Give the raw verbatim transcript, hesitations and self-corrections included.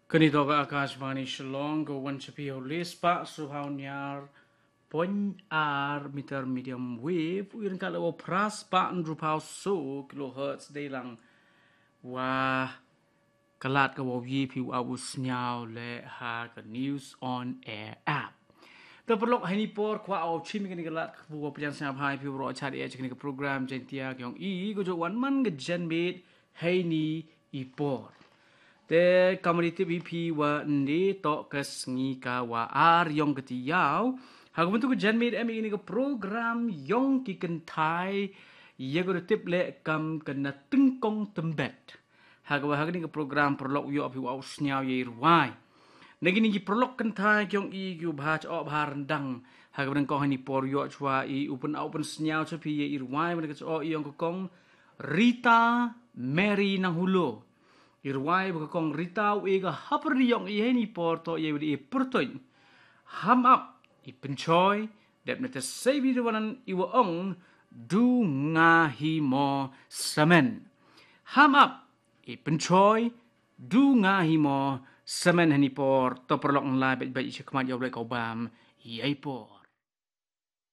Kani toh ka Akashvani Shillong, ka wan sha phi ha u lai spah sawphew hynñiew point ar meter medium wave, u ïaid ryngkat la u phra spah hynriewphew saw kilohertz dei lang. Wa ka lad ka wow ïoh phi u ap u sñiaw leh ha ka News on Air app. Te paralok, ha ini i por kwah wow chim ïa kani ka lad ka wow pynïaid sñiaw bha ïa phi waroh, chad ïa kani ka program Jaiñtia ka yong i, ka jooh wan man ka janmiet ha ini i por. Te kumba i tip ïa phi, wa ynne toh ka sngi ka wa ar yong ka taïew. Ha ka bynta ka janmiet em ïa kani ka program yong ki kynthai, ïa ka da tip leh kam ka Na Tyngkong Tymbet. Ha kaba ha kani ka program paralok, u ïoh phi u ap u sñiaw ïa i rwai na kini ki paralok kynthai ki yong i, ki u bha chooh bha ryndang. Ha kaba nyngkong ha ini i por, u ïoh chwa i u pyn-, u pynsñiaw cha phi ïa i rwai ba na ka chooh i yong ka Kong Rita Mary Nanghulo. I rwai ba ka Kong Rita u ïa ka hapyrdi yong i ha ini i por toh ïa i wa da i pyrtuid: Ham ap i pynchoi, dep na te sei bi de wanan i wa ong, du nga hi mo samen. Ham ap i pynchoi, du nga hi mo samen ha ini i por. To paralok, ngan lai beit beit i cha khmat ïa u Blei ka u bam ïa i por.